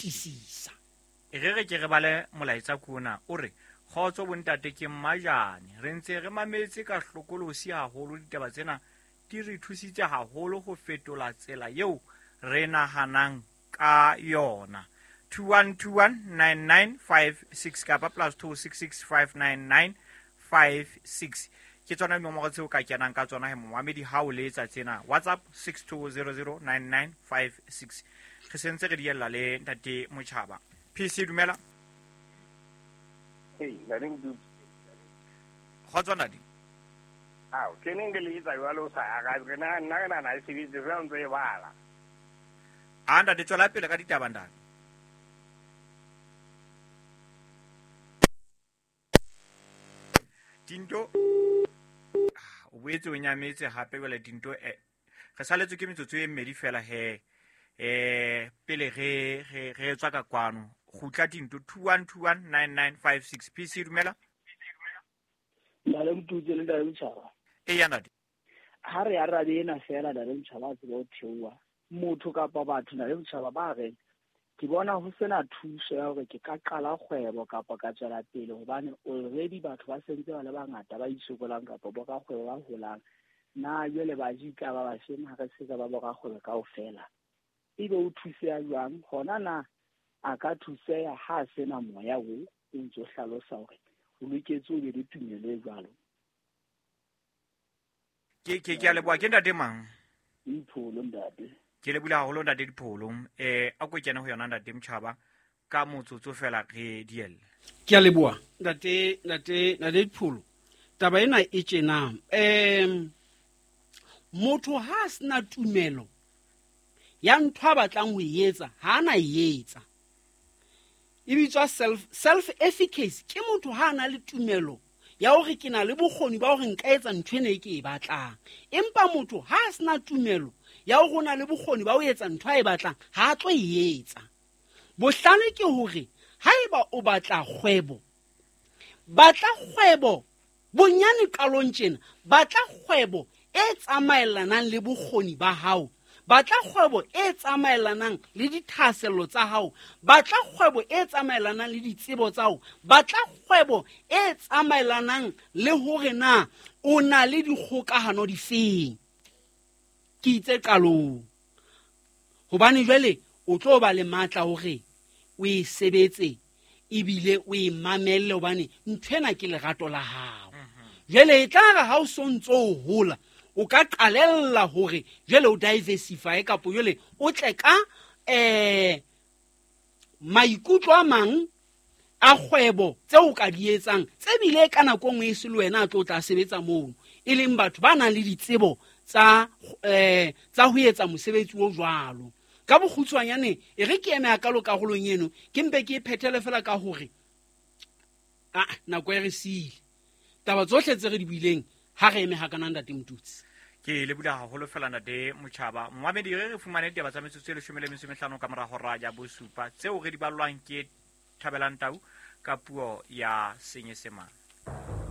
fetisisa. E re re ke re bale molaetsa kona o re kgotso bontate ke mmajane re ntse re mametse ka hlokolosi haholo ditaba tsena di re thusitse haholo ho fetola tsela eo re nahanang ka yona. 21219956 kapa +266 59956 ke tsona dinomoro tseo ka kenang ka tsona he momamedi ha o letsa tsena. WhatsApp 62009956. Re sentse re diella le ntate Motjhaba. PC, dumela. Hey, ntate Mdudu. Kgotso ntate. Ao, ke neng ke letsa jwale o sa arabe. Re na nna re nahana e sebetse fela o ntso e bala. A ntate, tswela pele ka ditaba ntate. Tinto o boetse o nyametse hape jwale. Tinto, re saletswe ke metsotso e mmedi fela he pele re tswa ka kwano. Kgutla Tinto, 21219956. PC, dumela. Ntate Motutse le ntate Motjhaba. E ya ntate. Ha re arabe ena fela, ntate Motjhaba, a tseba ho theoha motho kapa batho, ntate Motjhaba, ba reng ke bona ho sena thuso ya hore ke ka qala kgwebo kapa ka tswela pele hobane already batho ba sentse ba le bangata ba isokolang kapa borakgwebo ba holang. Na jwale baji tla ba bafeng ha re se ka ba borakgwebo kaofela? Ebe o thuseha jwang? Hona na a ka thuseha ha a sena moya o o ntso hlalosa hore o loketse o be le tumelo e jwalo? Ke a leboha. Ke ntate mang? Dipholo, ntate. Ke lebohile haholo ntate Dipholo. A ko kene ho yona ntate Motjhaba ka motsotso fela re dielle. Ke a leboha ntate Dipholo. Taba ena e tjena, motho ha a sena tumelo ya ntho a batlang ho e etsa, ha a na e etsa. E bitswa self efficacy. Ke motho ha a na le tumelo ya hore ke na le bokgoni ba hore nka etsa ntho ena e ke e batlang, empa motho ha a sena tumelo ya hore o na le bokgoni ba ho etsa ntho a e batlang, ha a tlo e etsa. Bohlale ke hore haeba o batla kgwebo, batla kgwebo bonyane qalong tjena, batla kgwebo e tsamaellanang le bokgoni ba hao, batla kgwebo e tsamaellanang le dithahasello tsa hao, batla kgwebo e tsamaellanang le ditsebo tsa hao, batla kgwebo e tsamaellanang le hore na o na le dikgokahano difeng. Ke itse qalong hobane jwale o tlo ba le matla hore o e sebetse ebile o e mamelle, hobane nthwena ke lerato la hao. Jwale e tla re ha o so ntso o hola, o ka qalella hore jwale o diversify kapo jwale o tle ka maikutlo a mang a kgwebo tse o ka di etsang, tse bile ka nako nngwe e se le wena a tlo tla sebetsa mono, e leng batho ba nang le ditsebo tsa ho etsa mosebetsi o jwalo. Ka bokgutshwanyane e re ke eme hakalo karolong eno, ke mpe ke e phethele fela ka hore nako e re siile. Taba tsohle tse re di buileng ha re eme hakana ntate Motutsi. Ke lebohile haholo fela ntate Motjhaba. Momamedi, re fumane ditaba tsa metsotso e 15 ka mora hora ya bosupa tseo re di ballwang ke Thabelang Tau ka puo ya Senyesemane.